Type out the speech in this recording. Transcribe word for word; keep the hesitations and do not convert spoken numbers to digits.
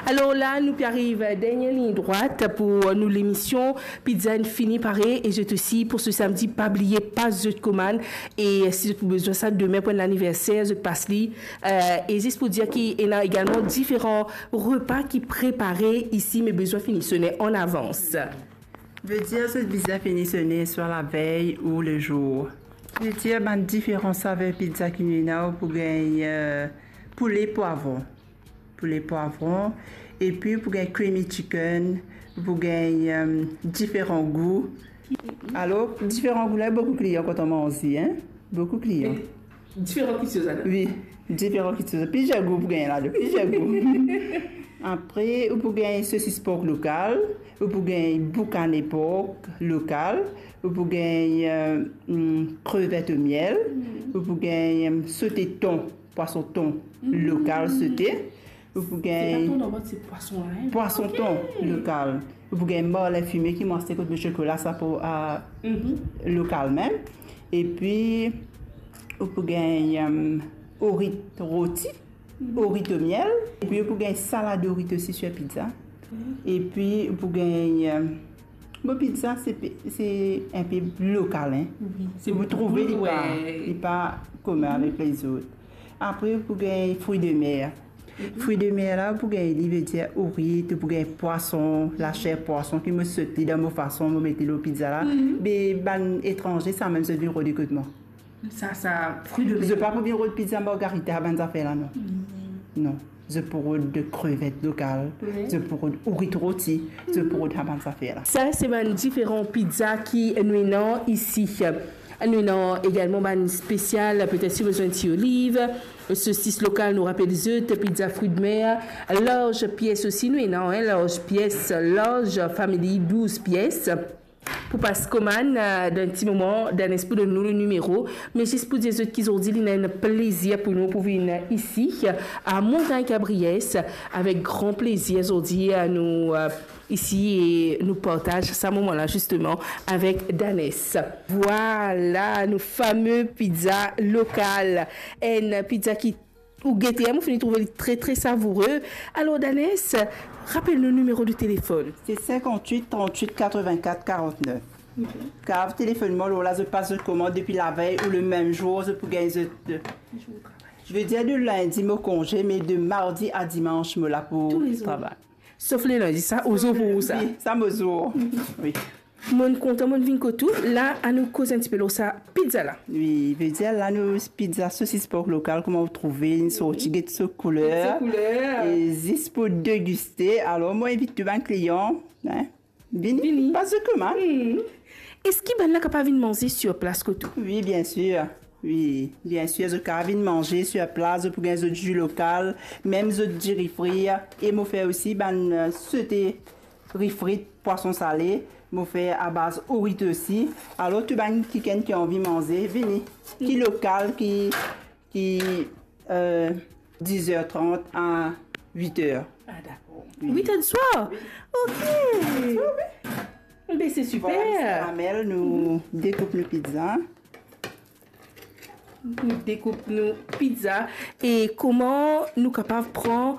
Alor la, nou pe ariv dernie lign drwat pou nou lemision. Pizza inn fini pare e zot osi pou se samdi, pa bliye pas zot komann. E si zot pou bezwin sa demin pou enn laniverser, zot pas li. Eh, e zis pou dir ki ena egalman diferan repa ki prepare isi, me bezwin fini sone an avans. Vedir zot bizin fini sone swa lavey ou lezour. Vedir bann diferan saver pizza ki nou ena, ou pou gagn, eh, poule pwavron. Poule pwavron, epi ou pou gagn creamy chicken, ou pou gagn, eh, diferan gou. Alor, diferan gou la, boukou klian kontan manze, hein? Boukou klian. Diferan kitsoz la? Wi, diferan kitsoz. Plizier gou pou gagn la, plizier gou. Apre, ou pou gagn sosis pork lokal, ou pou gagn boukane pork lokal, ou pou gagn, eh, mm, krevet o miel, ou pou gagn, eh, sote ton, pwason ton lokal sote, ou pou gagn pwason ton lokal. Ou pou gagn marlin fime ki mwa se kot mo sikola sa pou, eh, lokal mem. Epi, ou pou gagn, eh, orit roti, orit o miel. Epi, ou pou gagn salad orit osi sir pizza. Epi, ou pou gagn, eh, bon, pizza, se pe-, se enpe lokal, hein. Ou pou trouve li pa, li pa komin avek lezot. Apre, ou pou gagn fruits de mer. Fruits de mer la, ou pou gagn li, vedir orit, ou pou gagn pwason, laser pwason, ki mo sot li dan mo fason, mo met li lor pizza la. Me bann etranze, samem zot vinn rode kot mwa. Sa, sa, fruits de mer. Zot pa pou vinn rod pizza margarita, bann zafer la, non. Non. Zot pou rod krevet lokal, zot pou rod orit roti, zot pou rod sa bann zafer la. Sa, se bann diferan pizza ki nou ena isi. Nou ena egalman bann spesial, petet si ou bizin ti oliv, sosis lokal, nou rapel zot, pizza fruits de mer, large pies osi, nou ena, hein, large pies, large family, douz pies. Pou pas komann, eh, dan enn ti moman, Danès pou donn nou le nimero, me zis pou dir zot ki zordi li ena enn plezir pou nou pou vinn isi, a Montagn Cabriès, avek gran plezir zordi, eh, nou, eh, isi e nou partaz sa moman la, zisteman, avek Danès. Vwala, nou fame pizza lokal. Enn pizza ki ou gete, mo fini trouve li tre, tre savoure. Alor, Danès, rapel nou nimero de telefonn. Se cinquante-huit trente-huit quatre-vingt-quatre quarante-neuf. Kapav telefonn mwa, lor la, zot pas zot komand depi lavey ou le mem zour, zot pou gagn zot, eh, vedir de lindi mo konze, me de mardi a dimans mo la pou travay. Sof le lindi, sa, ou zour pou ou sa. Wi, sa mo zour. Wi. Monn kontan, monn vinn kot ou. La, anou koz enn tipe lor sa pizza la. Wi, vedir la nou pizza sosis pork lokal, kouma ou trouve, inn sorti, get so kouler. Get so kouler. E zis pou degiste, alor mo invit tou bann klian, hein, vini, vini. Pas zot komann. Eski bann la kapav vinn manze sir plas kot ou? Wi, biensir. Wi, biensir, zot kapav vinn manze sir plas, zot pou gagn zot zi lokal, mem zot diri frir, e mo fer osi bann, eh, sote ri frit, pwason sale, mo fer a baz orit osi. Alor, tou bann kikenn ki anvi manze, vini. Ki lokal, ki, ki, eh, diz er trant a wit er. Ah, dakor. Wi. Wit er di swar? Wi. Ok. Wit er di swar, wi. Be, se siper. Vwala, Mister Amel, nou dekoup nou pizza. Nou dekoup nou pizza. E kouma nou kapav pran